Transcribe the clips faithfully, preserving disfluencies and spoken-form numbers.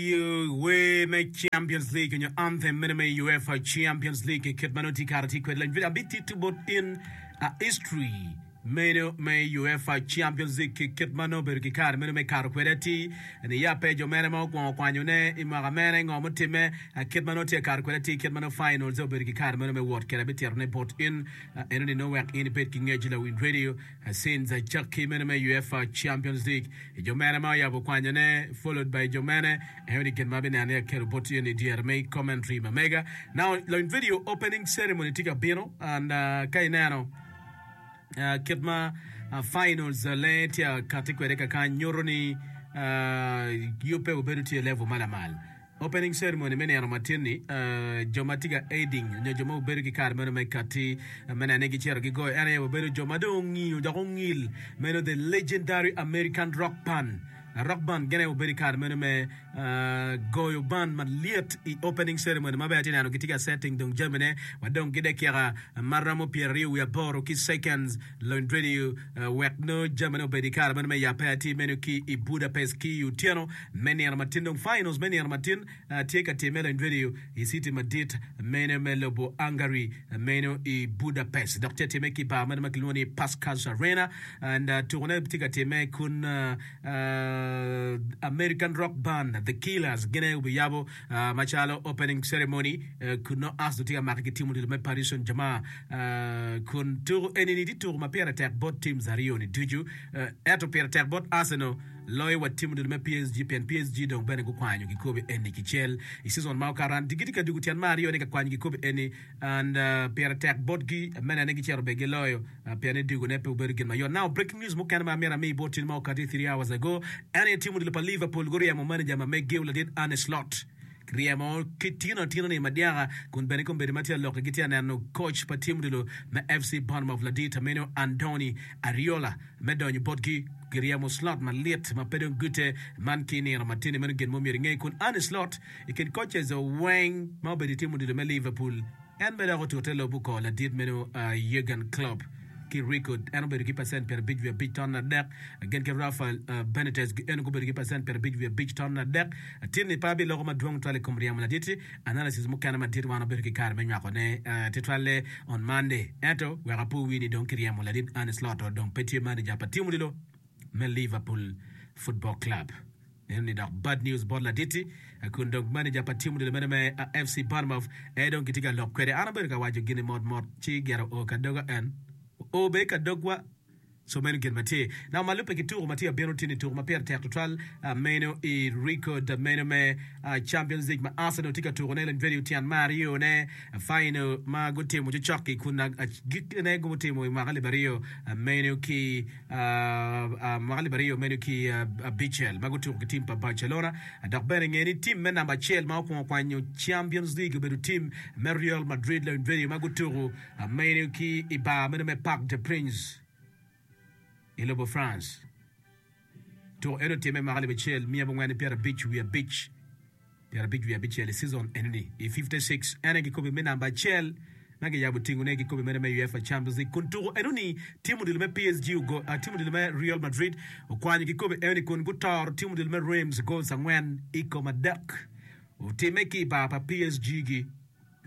Wer me Champions League nyo anthem mene me UEFA Champions League kit ma nongo tye kare tye kwede lany video abitito bot in a history meno me UEFA Champions League kit ma nongo obedo ki kare meno me kato kwede atir niya pe jo mene ma okwongo kwanyone i mwaka mene ngo mutimme kit ma nongo tye kato kwede atir kit ma nongo finals obedo ki kare meno me wot kwede abititone bot in enoni nongo wek in ibed ki ngec lawiny radio since acakki meno me UEFA Champions League jo mene ma oyabo kwanyone followed by jo mene enoni gin ma abineno ni akelo bot in i dyere me commentary ma mega. Now lawiny video opening ceremony tye ka bino and uh, ka ineno uh, kit ma uh, finals uh, lenge tye akati kwede kakany nyuto ni uh, yubbe obedo tye i level ma lamal. Opening ceremony me nino matin-ni, jo ma tye ka aiding nyo jo ma obedo ki kare meno me kati me neno ni gicito gigoyo en aye obedo jo ma dong ongiyo dok ongil meno the legendary American rock band. Rock band gin aye obedo ki kare meno me goyo band malyet i opening ceremony ma bene atye neno gitye ka setting dong jamine wa dong ki dakika ma romo pyeraryo wiye aboro ki seconds Lony Radio wek nongo jamine obed i kare meno me yabbe atir meno ki i Budapest ki i otyeno me nino matin. Dong finals me nino matin tye ka timme Lony Radio i city madit meno me lobo Hungary meno i Budapest dok tye timme ki i bar meno ma kilwongo ni Puskás Arena and tukone tye ka timme kun American rock band The Killers gin aye obiyabo macalo opening ceremony kun nongo Arsenal tye ka make ki tim odilo me Paris Saint-Germain kun tuko eni-ni tye tuko ma pire tek bot teams aryo-ni ducu ento pire tek bot Arsenal loyo wa tim odilo me P S G pien P S G dong bene gukwanyo kikobi eni kicel i season ma okato and gitye ka dugo tyen me aryo ni ka kwanyo kikobi eni and pire tek botgi me nene gicito bene giloyo pien ni dugone pe obedo gin mayot. Now breaking news mukene ma amyero ami bot tin ma okati three hours ago en aye tim odilo pa Liverpool guryemo manager ma meggi ladit Arne Slot ryemo ki tino atina ni madyaka kun bene kombeddi ma tye alokke gitye aneno coach pa tim odilo me F C Bournemouth ladit ameno Andoni Areola me donyo botgi. Giryemo Slot malit ma pe dong gute man ki nino matini meno gin mo myero inge kun Arne Slot i kin coaches weng ma obedo i tim odilo me Liverpool en bene dok otute lobo kor ladit meno Jurgen Klopp ki record en obedo ki pacent pyerabic wiye abic ton adek gin ki Rafael Benitez eno gubedo ki pacent pyerabic wiye abic ton adek. Tinni pe abiloko madwong twal i kom ryemo ladit-ti. Analysis mukene madit wan wabedo ki kare me nywakone tutwalle on Monday. Ento wek apo wi ni dong kiryemo ladit Arne Slot dong pe tye manager pa tim odilo me Liverpool Football Club. Neno ni dok bad news bot ladit-ti kun dong manager pa tim odilo meno me F C Bournemouth aye dong kitye ka lok kwede. An abedo ka waco gini mot mot ci gire oo ka doga en oo bene ka dogwa. Co meno gin ma tye. Now ma lubbe ki tuko ma tye abino tye ni tuko ma pire tek tutwal meno i record meno me Champions League ma Arsenal tye ka tuko ne Lanyvedi tyen me aryo ne final ma gutimo cokcok-ki kun agikine gutimo i mwaka alip aryo meno ki mwaka alip aryo meno ki abicel ma gutuko ki tim pa Barcelona. Dok bene nge ni tim me namba acel ma okwongo kwanyo Champions League obedo tim me Real Madrid Lanyvedi ma gutuko meno ki i bar meno me Parc des Princes i lobo France. Tuko eno otimme i mwaka alip acel miya abongwen ki pyerabic wiye abic, pyerabic wiye abicel i season enoni i fifty six en aye kikobi me namba acel ma kiyabo tingone kikobi meno me UEFA Champions League kun tuko enoni tim odilo me P S G ogo tim odilo me Real Madrid okwanyo kikobi enoni kun gutoro tim odilo me Reims goals angwen i kom adek otimme ki i bar pa P S G gi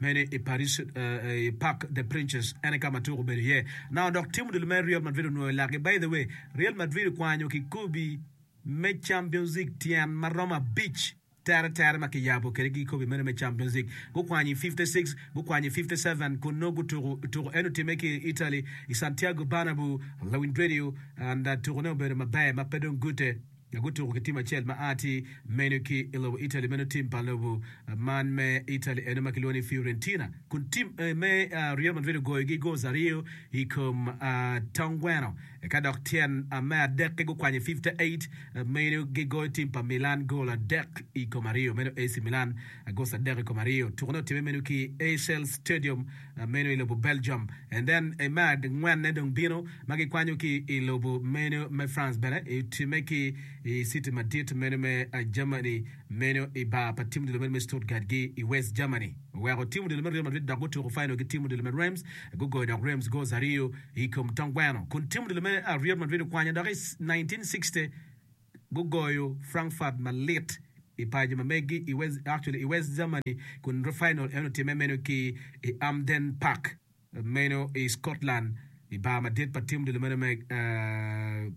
meno i Paris i Parc des Princes en aye ka ma tuko obedo iye. Now dok tim odilo me Real Madrid onwoyo lakgi. By the way, Real Madrid okwanyo kikobi me Champions League tyen ma romo abic tere tere ma kiyabo kwede ki kikobi meno me Champions League. Gukwanyo i fifty six, gukwanyo i fifty seven kun nongo gutuko tuko eno otimme ki i Italy i Santiago Bernabeu, Lawiny Radio and tukone obedo maber ma pe dong gute. Gutuko ki tim acel ma a tye meno ki i lobo Italy, meno tim pa lobo man me Italy eno ma kilwongo ni Fiorentina, kun tim me Real Madrid ogoyogi goals aryo i kom tong gweno. Ka dok tyen me adek-ki gukwanyo i fifty eight, meno gigoyo tim pa Milan goal adek i kom aryo, meno A C Milan goals adek i kom aryo. Tukone otimme meno ki Heysel Stadium meno i lobo Belgium. And then me angwenne dong bino ma gikwanyo ki i lobo meno me France bene otimme ki i city madit meno me Germany meno i bar pa tim odilo meno me Stuttgart gi i West Germany oweko tim odilo me Real Madrid dok gutuko final ki tim odilo me Reims gugoyo dok Reims goals aryo i kom tong gweno kun tim odilo me Real Madrid okwanyo dok i nineteen sixty gugoyo Frankfurt malit i paco ma megi i West, actually i West Germany kun final eno otimme meno ki i Hampden Park meno i Scotland i bar madit pa tim odilo meno me uh,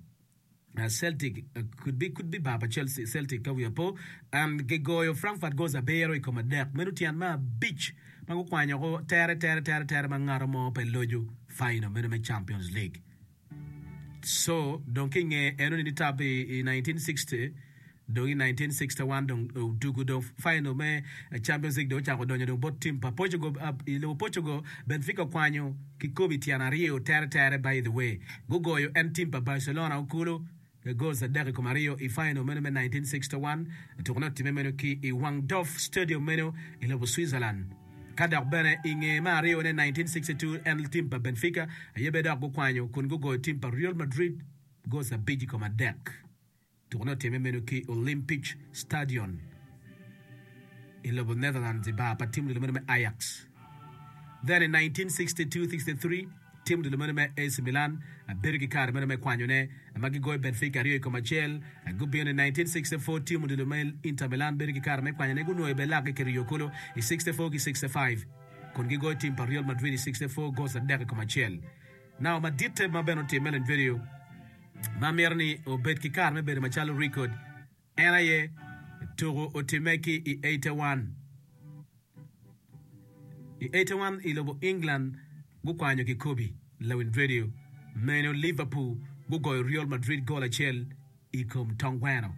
Uh, Celtic uh, could be could be bar pa Chelsea Celtic ka wiya po and gigoyo Frankfurt goals abiro i kom adek meno tyen me abic ma gukwanyo ko tere tere tere tere ma ngato mo pe lojo final meno me Champions League. So dong ki nge eno ni tap i, i nineteen sixty dong i nineteen sixty-one dong odugo dong final me Champions League dong ocako donyo dong bot team pa Portugal uh, i lobo Portugal. Benfica okwanyo kikobi tyen aryo tere tere. By the way, gugoyo en team pa Barcelona okulu goals adek i kom aryo i final meno me nineteen sixty-one. Tukone otimme meno ki i Wankdorf Stadium meno i lobo Switzerland. Ka dok bene i nge me aryo ne nineteen sixty-two en team pa Benfica aye be dok gukwanyo kun gugoyo team pa Real Madrid goals abic i kom adek. Tukone otimme meno ki Olympic Stadion i lobo Netherlands i bar pa team odilo meno me Ajax. Then in nineteen sixty-two sixty-three team odilo meno me A C Milan bedo ki kare meno me kwanyone ma gigoyo Benfica aryo i kom acel. Gubino i nineteen sixty-four team odilo me Inter Milan bedo ki kare me kwanyone gunwoyo be lakgi kiriyo kulu i sixty-four ki sixty-five kun gigoyo team pa Real Madrid i sixty-four goals adek i kom acel. Now maditte ma bene otimme len video ma mito ni obed ki kare me bedo macalo record en aye tuko otimme ki i eighty-one. I eighty-one i lobo England gukwanyo kikobi lawin radio meno Liverpool gugoyo Real Madrid goal acel i kom tong gweno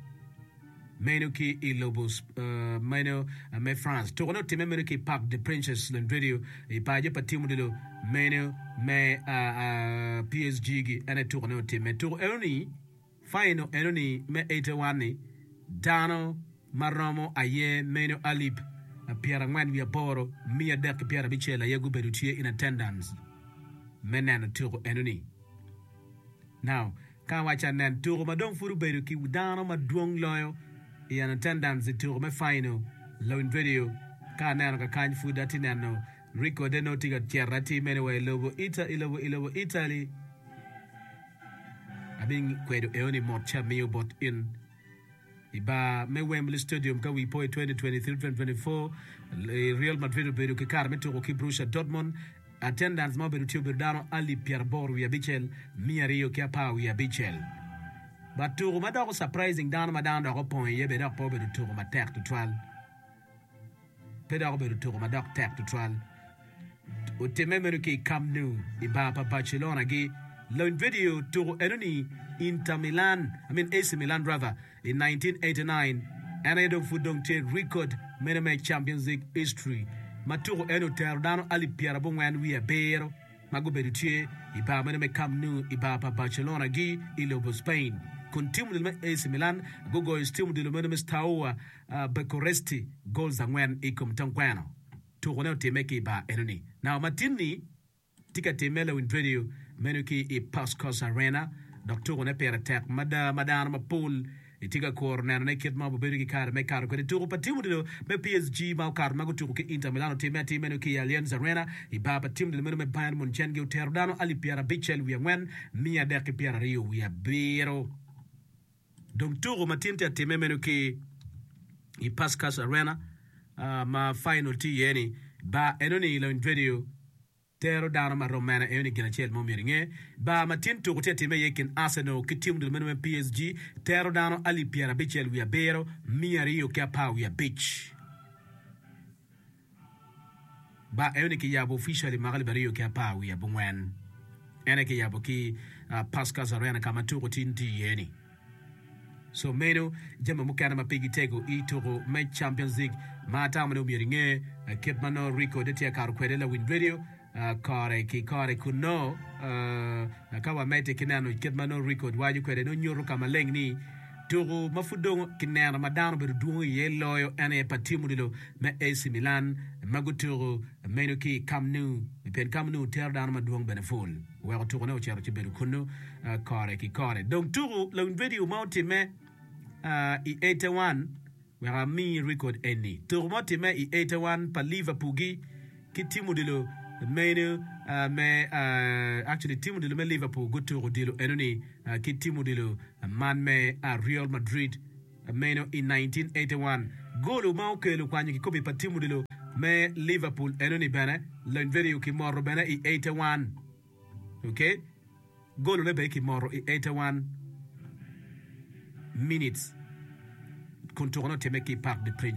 meno ki i lobo uh, meno uh, me France. Tukone otimme meno ki Parc des Princes lawin radio i paco pa tim odilo meno me uh, uh, P S G gi ene tukone otimme. Tuko eno ni final eno ni me eighty-one ni dano maromo aye meno alip pyerangwen wiye aboro miya adek ki pyerabicel aye gubedo tye in attendance me neno tuko eno ni. Now, ka waca nen tuko ma dong pud obedo ki dano madwong loyo i an attendance i tuko me final lawin radio ka aneno kakany pud ati neno recorde no tye ka cito ati mene wa i lobo Ita, i lobo, i lobo Italy. Abi kwedo eo ni mot ca miyo bot in i bar me Wembley Stadium ka wi po i twenty twenty-three twenty twenty-four Real Madrid obedo ki kare me tuko ki Borussia Dortmund. Attendance ma obedo tye obedo dano alip pyeraboro wiye abicel miya aryo ki apar wiye abicel. But tuko ma doko surprising dano ma dano dok opong iye be dok pe obedo tuko matek tutwal. Pe dok obedo tuko ma dok tek tutwal. Otimme meno ki i Camp Nou i bar pa Barcelona gi Lawin video tuko eno ni Inter Milan, I mean A C Milan rather, in nineteen eighty-nine. En aye dong pud dong tye record meno me Champions League history ma tuko eno otero dano alip pyerabongwen wiye abiro ma gubedo tye i bar meno me Camp Nou i bar pa Barcelona gi i lobo Spain. Kun tim odilo me A C Milan gugoyo tim odilo meno me Steaua uh, Bucharest goals angwen i kom tong gweno. Tuko ne otimme ki i bar eno ni. Now matin-ni tye ka timme lawin radio meno ki i Puskás Arena dok tuko ne pire tek mada ma dano mapol itye ka kuro neno ne kit ma obedo ki kare me kato kwede. Tuko pa tim odilo me P S G ma okato ma gutuko ki Inter Milan otimme atim meno ki i Allianz Arena i bar pa tim odilo meno me Bayern Munchen gi otero dano alip pyerabicel wiye angwen miya adek ki pyeraryo wiye abiro. Dong tuko ma tin tye atimme meno ki i Puskás Arena uh, ma final tye iye ni bar eno ni lawin radio tero dano ma rom mene eno ni gin acel ma omyero inge. Bar ma tin tuko tye atimme iye kin Arsenal ki tim odilo meno me P S G tero dano alip pyerabicel wiye abiro miya aryo ki apar wiye abic. Bar eno ni kiyabo officially mwaka alip aryo ki apar wiye abongwen. Ene kiyabo ki uh, Puskás Arena ka ma tuko tin tye iye ni. So meno jami mukene ma pigi tego i tuko me Champions League ma atamo ni omyero inge kit ma no record tye kato kwede lawin radio uh, kore ki kore kun no uh, ka wamedde ki neno kit ma no record waco kwede no nyuto ka maleng ni tuko ma pud dong kineno ma dano obedo dwong iye loyo en aye pa tim odilo me A C Milan ma gutuko meno ki Camp Nou pien Camp Nou tero dano madwong bene ful weko tukone ocito ci bedo kunnu uh, kore ki kore. Dong tuko lawin video ma otimme uh, i eighty-one wek ami record eni. Tuko ma otimme i eighty-one pa Liverpool gi ki tim odilo meno uh, me uh, actually tim odilo me Liverpool gutuko odilo eno ni uh, ki tim odilo man me uh, Real Madrid Meno i nineteen eighty one. Golu ma okelo kwanyo kikopi pa tim odilo me Liverpool enoni bene Lonyverio kimoto bene i eighty one. Ok, golone bene kimoto i eighty one minutes kun tukone otimme ki i Parc des Princes.